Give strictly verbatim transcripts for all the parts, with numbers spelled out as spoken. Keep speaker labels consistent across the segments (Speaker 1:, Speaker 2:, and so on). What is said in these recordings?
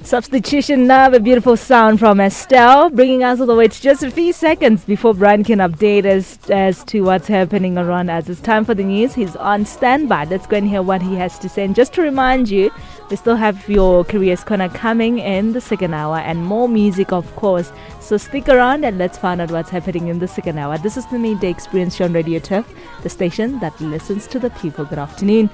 Speaker 1: Substitution Love, a beautiful sound from Estelle, bringing us all the way to just a few seconds before Brian can update us as to what's happening around us. It's time for the news. He's on standby. Let's go and hear what he has to say. And just to remind you, we still have your Careers Corner coming in the second hour and more music, of course. So stick around and let's find out what's happening in the second hour. This is the Midday Experience show on Radio Turf, the station that listens to the people. Good afternoon.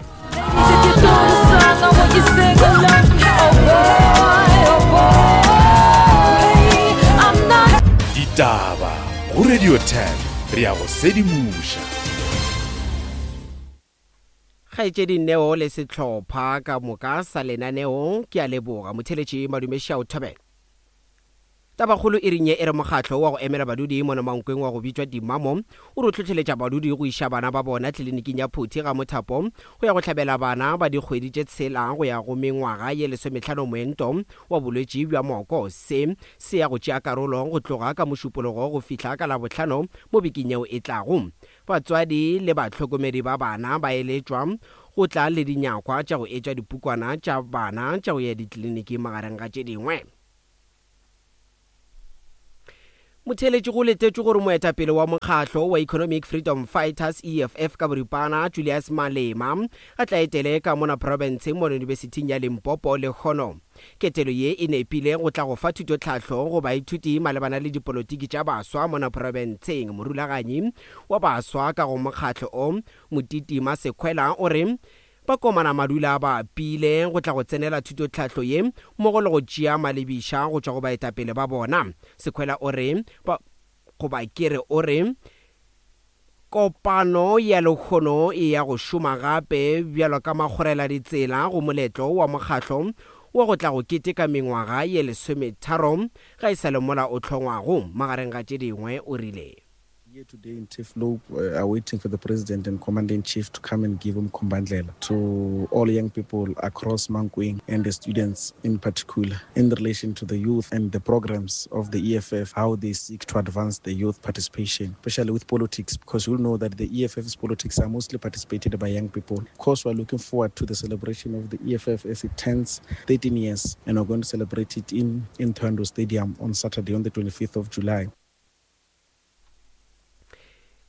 Speaker 2: Ditaba go Radio ten re ya go sedimoša.
Speaker 3: Kgaetšedi Neo le sehlopha ka moka sa lenaneo ke a leboga. Motheletši Madume Šao Thobela. Tabakgolo e reng ye e re mokgatlo wa go emela badudi mono Mankweng wa go bitšwa Dimamo o re o hlohleletša badudi go iša bana ba bona tleliniking ya Phuthi ga Mothapo go ya go hlabela bana ba dikgwedi tše tshela go ya go mengwaga ye lesomehlano moento wa bolwetši bja moko. Se se ya go tšea karolo go tloga ka Mošupologo go fihla ka Labohlano mo bekeng yeo e tlago. Batswadi le bahlokomedi ba bana ba eletšwa go tla le dinyakwa tša go etša dipukwana tša bana tša go ya ditleliniking magareng ga tše dingwe. Motheeletši go letetšwe gore moetapele wa mokgatlo wa Economic Freedom Fighters E F F ka boripana Julius Malema a tla etele ka mona profenseng mo yunibesithing ya Limpopo lehono. Ketelo ye e nepile go tla go fa thutotlhahlo go baithuti malebana le dipolotiki tša baswa mona profenseng. Morulaganyi wa baswa ka go mokgatlo o Motiti Masekhwela o re ba komana madula ba pile go tla go tsenela thutotlhahlo ye mmogo le go tšea malebiša go tšwa go baetapele ba bona. Sekhwela o re ba goba ke re o re kopano ya lehono e ya go šoma gape bjalo ka makgorela ditsela go moletlo wa mokgatlo wa go tla go keteka mengwaga ye lesometharo ga e sa le mola o hlongwago magareng ga tše dingwe o rile.
Speaker 4: Here today in Turfloop, uh, are waiting for the President and Commander-in-Chief to come and give Umkhombandlela to all young people across Mankweng and the students in particular in relation to the youth and the programs of the E F F, how they seek to advance the youth participation, especially with politics, because you'll know that the E F F's politics are mostly participated by young people. Of course, we're looking forward to the celebration of the E F F as it turns thirteen years, and we're going to celebrate it in, in Thohoyandou Stadium on Saturday on the twenty-fifth of July.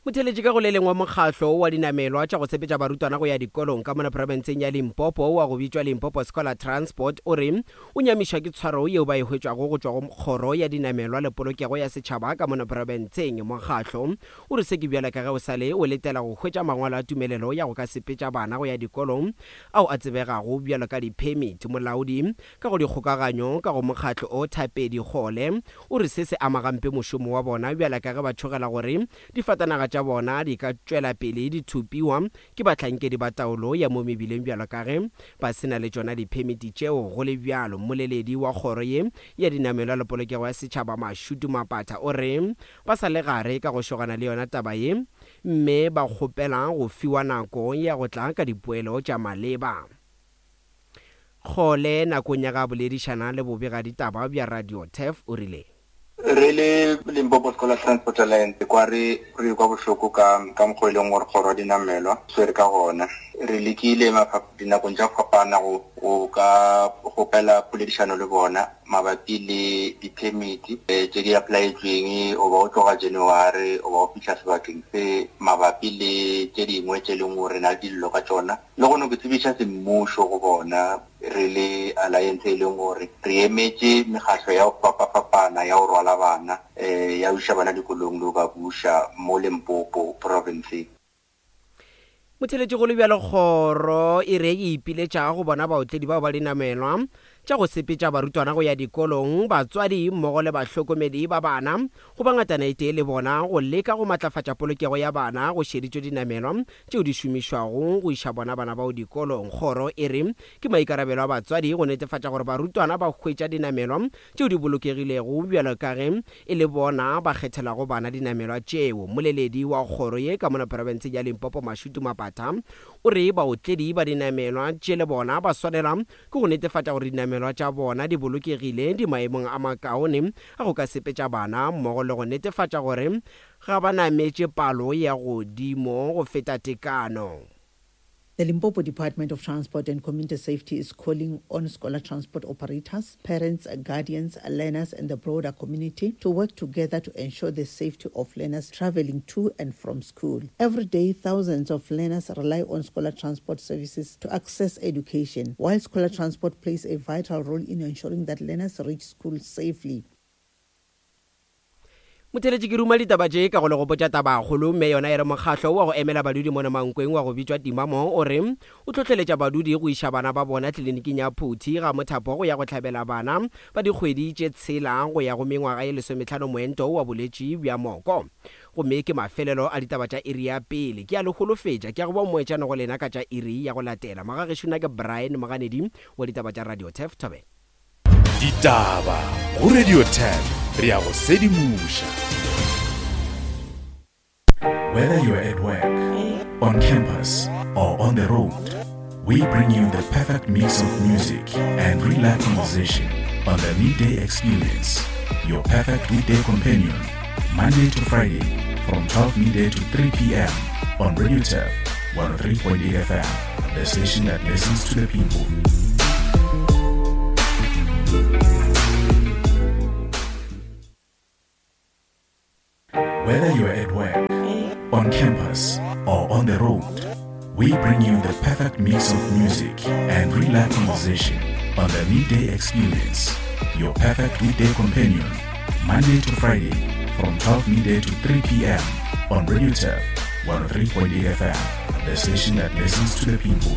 Speaker 3: Motheeletši ka go le lengwe mokgatlo wa dinamelwa tša go sepetša barutwana go ya dikolong ka mona profenseng ya Limpopo wa go bitšwa Limpopo Scholar Transport o re o nyamišwa ke tshwaro yeo ba e hwetšwago go tšwa go kgoro ya dinamelwa le polokego ya setšhaba ka mona profenseng. Mokgatlo o re se ke bjalo ka ge o sale o letela go hwetša mangwalo a tumelelo ya go ka sepetša bana go ya dikolong ao a tsebegago bjalo ka di-permit. Molaodi ka go dikgokaganyo ka go mokgatlo o Thapedi Kgole o re se se ama gampe mošomo wa bona bjalo ka ge ba tšhogela gore difatanaga tša bona di ka tšwela pele di thupiwa ke bahlankedi ba taolo ya mo mebileng bjalo ka ge ba se na le tšona diphemiti tšeo. Go le bjalo, mmoleledi wa kgoro ye ya dinamelwa le polokego ya setšhaba Mashudu Mapatha o re ba sa le gare ka go šogana le yona taba ye mme ba kgopela go fiwa nako ya go tla ka dipoelo tša maleba. Kgole nakong ya ga boledišana le bobegaditaba bja Radio Turf o rile
Speaker 5: re le Limpopo Scholar Transport Alliance kwa re re kwa bohloko ka ka mokgwa e leng gore kgoro ya dinamelwa swere ka gona. Re lekile dinakong tša go fapana go go ka kgopela poledišano le bona mabapi le di-permit tše di applyetsweng o ba o tloga January o ba o fihla sebakeng se mabapi le tše dingwe tše leng gore re na le dillo ka tšona. Le gone ke tsebiša semmušo go bona re le alliance e leng gore re emetše mekgatlo ya go fapafapana ya go rwala bana eh ya go iša bana dikolong le go ba buša mo Limpopo province.
Speaker 3: Motheeletši go le bjalo kgoro e re e ipiletša go bona baotledi bao ba dinamelwa tša go sepetša barutwana go ya dikolong, batswadi mmogo le bahlokomedi ba bana go ba ngatana e tee le bona go leka go matlafatša polokego ya bana go šeditšwe dinamelwa tšeo di šomišwago go iša bona bana bao dikolong. Kgoro e re ke maikarabelo a batswadi go netefatša gore barutwana ba hwetša dinamelwa tšeo di bolokegilego bjalo ka ge e le bona ba kgethelago bana dinamelwa tšeo. Mmoleledi wa kgoro ye ka mona profenseng ya Limpopo Mashudu Mapatha o re baotledi ba dinamelwa tše le bona ba swanela ke go netefatša gore dinamelwa tša bona di bolokegile di maemong a makaone a go ka sepetša bana mmogo le go netefatša gore ga ba nametše palo ya godimo go feta tekano.
Speaker 6: The Limpopo Department of Transport and Community Safety is calling on scholar transport operators, parents, guardians, learners, and the broader community to work together to ensure the safety of learners traveling to and from school. Every day, thousands of learners rely on scholar transport services to access education, while scholar transport plays a vital role in ensuring that learners reach school safely.
Speaker 3: Motheletši ke ruma ditaba tše ka go le gopotša tabakgolo mme yona e re mokgahlo wa go emela badudi mona Mankweng wa go bitšwa Timamo o re o hlohleletša badudi go iša bana ba bona tleliniking ya Phuthi ga mothapo go ya go hlabela bana ba dikgwedi tše tshela go ya go mengwaga ye lesometlhano moento wa bolwetši bja moko. Gomme ke mafelelo a ditaba tša iri ya pele. Ke a le holofetša ke a go ba mmoetšana go lena ka tša iri ya go latela. Magagešo nna ke Brian Moganedi wa ditaba tša Radio Turf Thobela.
Speaker 2: Ditaba go Radio Turf re ya go sedimoša.
Speaker 7: Whether you're at work, on campus, or on the road, we bring you the perfect mix of music and real life conversation on the Midday Experience, your perfect weekday companion, Monday to Friday from twelve midday to three p.m. on Radio Turf one oh three point eight F M, the station that listens to the people. Whether you're at work, on campus, or on the road, we bring you the perfect mix of music and real life conversation on the Midday Experience, your perfect weekday companion, Monday to Friday from twelve midday to three p.m. on Radio Turf one oh three point eight F M, the station that listens to the people.